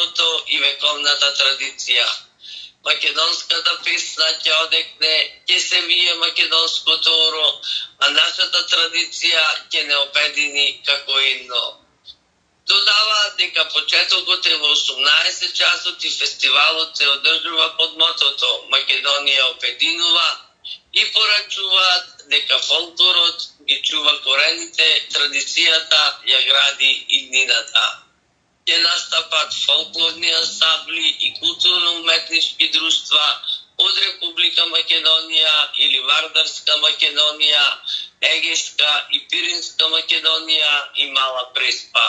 времето и вековната традиција. Македонската песна ќе одекне, ќе се вие македонското оро, а нашата традиција ќе не обедини како едно. Додава дека почетокот е во 18 часот и фестивалот се одржува под мотото Македонија обединува и порачуваат дека фолклорот ги чува корените, традицијата ја гради иднината. Ќе настапат фолклорни ансамбли и културно-уметнички друштва од Република Македонија или Вардарска Македонија, Егејска и Пиринска Македонија и Мала Преспа.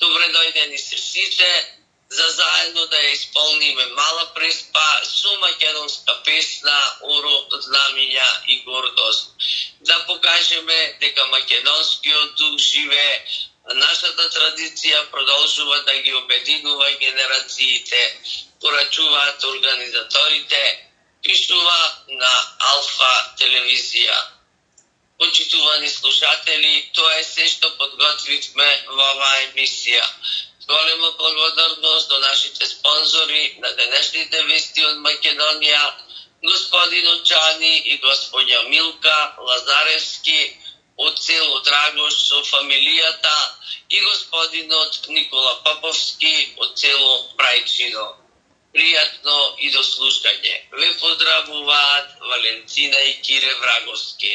Добре дојдени се сите, за заедно да ја исполниме Мала Преспа со македонска песна, оро, знамиња и гордост. Да покажеме дека македонскиот дух живее, а нашата традиција продолжува да ги обединува генерациите, порачуваат организаторите, пишува на Алфа телевизија. Почитувани слушатели, тоа е се што подготвивме во оваа емисија. Голема благодарност до нашите спонзори на денешните вести од Македонија, господинот Джани и господја Милка Лазаревски од село Драгош со фамилијата и господинот Никола Поповски од село Брајчино. Пријатно и до слушање. Ве поздравуваат Валентина и Кире Враговски.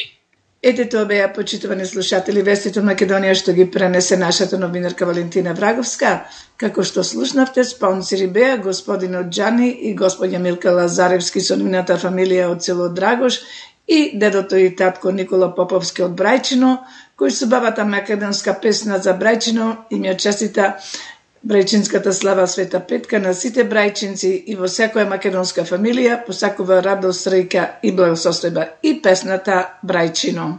Ете тоа беа, почитувани слушатели, вестите од Македонија што ги пренесе нашата новинарка Валентина Враговска. Како што слушнавте, спонсори беа господинот Джани и господја Милка Лазаревски со нивната фамилија од село Драгош и дедото и татко Никола Поповски од Брајчино, кои со бабата македонска песна за Брајчино им ја честита брајчинската слава Света Петка на сите брајчинци и во секоја македонска фамилија посакува радост, среќа и благосостојба и песната Брајчино.